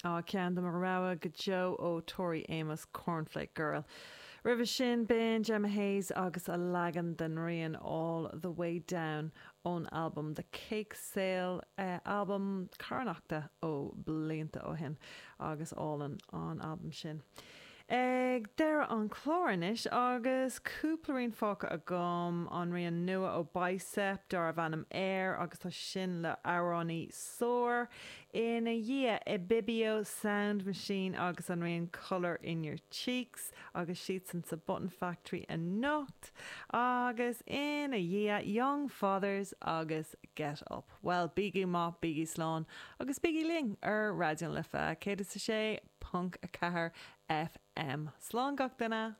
Á, ceann de mo rogha go deo ó Tori Amos, Cornflake Girl. Roimhe sin, b'in Gemma Hayes agus a leagan den rian All The Way Down ón albam The Cake Sale, albam carthanachta ó blianta ó shin, agus álainn an albam sin. Ag deireadh an chláir anois agus cúpla rian fágtha agam, an rian nua ó Bicep darbh ainm Air agus tá sin le amhránaí Soar. Ina dhiaidh, Ibibio Sound Machine agus an rian Colour in Your Cheeks agus siadsan sa Button Factory anocht. Agus ina dhiaidh, Young Fathers agus Get Up. Bhuel, bígí maith, bígí slán agus bígí linn ar Raidió na Life 106.4 FM. Slán gach duine!